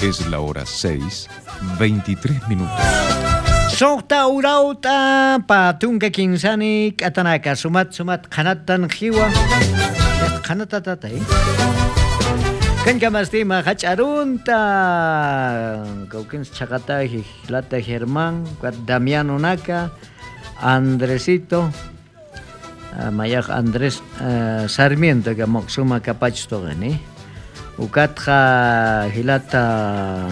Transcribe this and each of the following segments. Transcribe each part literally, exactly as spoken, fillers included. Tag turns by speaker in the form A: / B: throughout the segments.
A: Es la hora seis, veintitrés minutos.
B: Sojta urauta patunka kinsani katanaka sumat sumat qanatan jiwa qanatatata eh Kankamastima hach'arunta Kaukins chaqata Lata Germán Damiano Naka Andresito Mayaj Andrés uh, Sarmiento que moxuma kapach togani Ukatja Hilata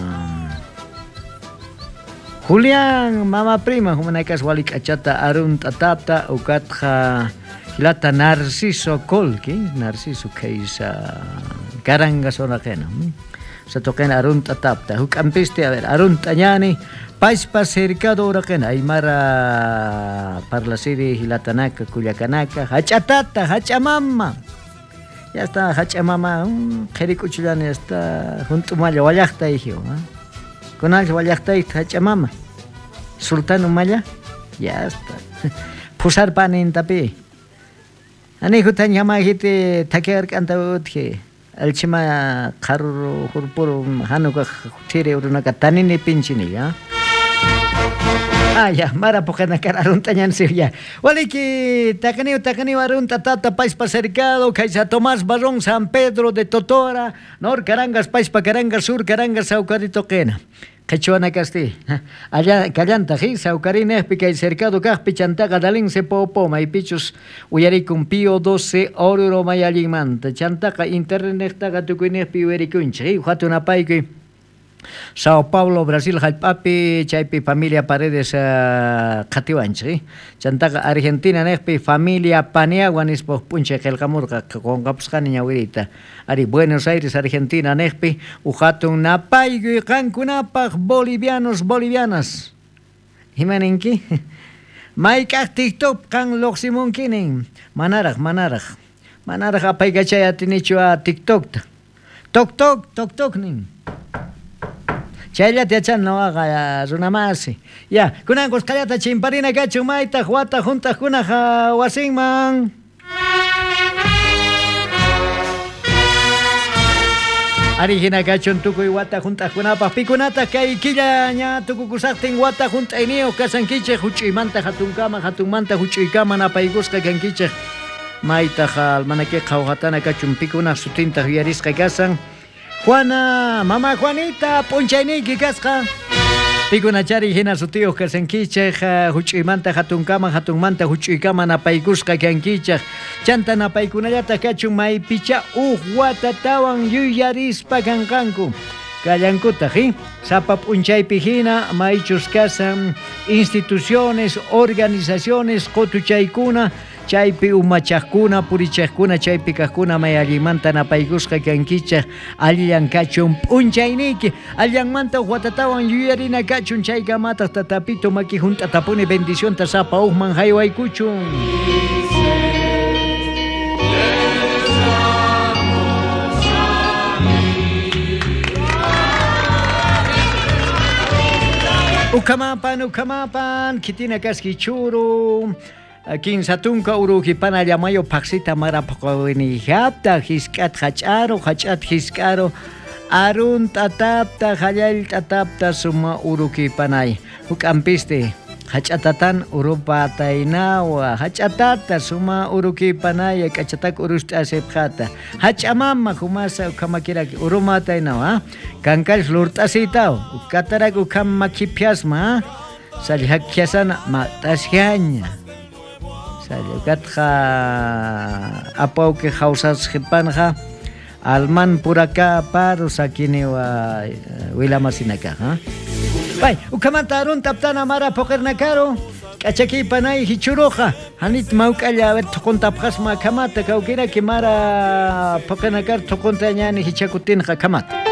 B: Julián mama prima humanakas walik achata arunta tata ukatja Hilata Narciso Colqui Narciso keisa Karanga sonaqena satoqena arunta tapta hukampiste a ver arunta ñani paispa cercado uraqena aymara parlasiri hilatanaka kullakanaka hach'atata hach'amama ya está hach'amama qhirikuchullani ya está juntumalla wallaqta ijiw kunal wallaqta hach'amama sultán umalla ya está pusarpanintapi anihu tañamajiti takiark'anta utji alchima qaruru jurpuru hanuka tire urunaka tanini pinchini ya. Ah ya, mara poqena kar aruntañan ya. Waliki taqaniu taqaniu arunta tata paispa cercado kaysa Tomás Barrón San Pedro de Totora Nor Carangas paispa Carangas Sur Carangas Saucarito qena. Quechuana casti. Allá callanta ji Saucarine kay cercado kaqpi chantaqa dalinse popo maypichus uyarikun Pío doce Oruro mayallinmanta chantaqa internettaqa tukuynejpi uyarikunchik hatun apaykuy Sao Paulo, Brasil, hallp'api chaypi familia Paredes uh, qhatiwanchik chantaqa Argentina nejpi familia Paniagua nispa p'unchay qillqamurqa qunqapusqani ñawiriyta ari Buenos Aires, Argentina nejpi uhatun napaykuy qankunapaq bolivianos, bolivianas imaninki mayk'aq TikTok qan luqsimunkinin manaraq manaraq manaraq apaykachay atinichu a TikTokta tok tok tok tok nin chayllata yachan noqaqa runamasi ya kunan kusqallata chimparina kachun maytaq wata juntaqkunaq wasinman Arigina kachun tukuy wata juntaqkunapaq pikunataq kay killa ña tukukusaqtin wata junt'ayniyuq kasankichik huch'uymanta hatunkama hatunmanta huch'uykama napaykusqa kankichik maytaq almanakiqa qhawqatana kachun pikunaq sutintaq yuyarisqa kasan Juana, mamá Juanita, p'unchayniyki kasqa. Pikunachari hina sutiyuq kasankichik, huch'uymanta hatunkama, hatunmanta huch'uykama napaykusqa kankichik. Chanta napaykunallataq kachun maypicha uj watatawan yuyarispa kanqanku. Kallankutaq, eh? Sapa p'unchaypi hina maychus kasan instituciones, organizaciones, qutuchaykuna, chaypi umachaqkuna, purichaqkuna, chaypi kaqkuna may allinmanta napaykusqa kankichaq, allillan kachun p'unchayniyki, allanmanta watatawan yuyarina kachun chaykamataq tatapito maki hunt'atapuni bendicionta sapa uqman haywaykuchun. Ukamapan, ukamapan, kitina kaski churu, kinsatunka urujipana llamayo paqsita marapaqawinijapta, hisk'at hach'aro, hach'at hisk'aro, arun tatapta, hallal tatapta, suma urukipanay. Huk'ampiste, hach'atatan urupataynawa, hach'atata suma urukipanaya, k'achatak urust'asipqata, hach'amama humasa ukhamakiraki urumataynawa, kankal lurt'asitaw, ukatarak ukhamakiphiasma, sallhakhiasana mat'ashiaña. Ukatqa apawki hawsasqipanja alman puraka paru sakiniwa wilamasinaqa ha Pay ukamanta arun taptana mara puqirnakaru k'achakipanay hichuruqa hanit mawk'alla a ver thuquntapqasma kamata kawkiraki mara puqirnakar thuqunta ñani hichakutinqa kamata.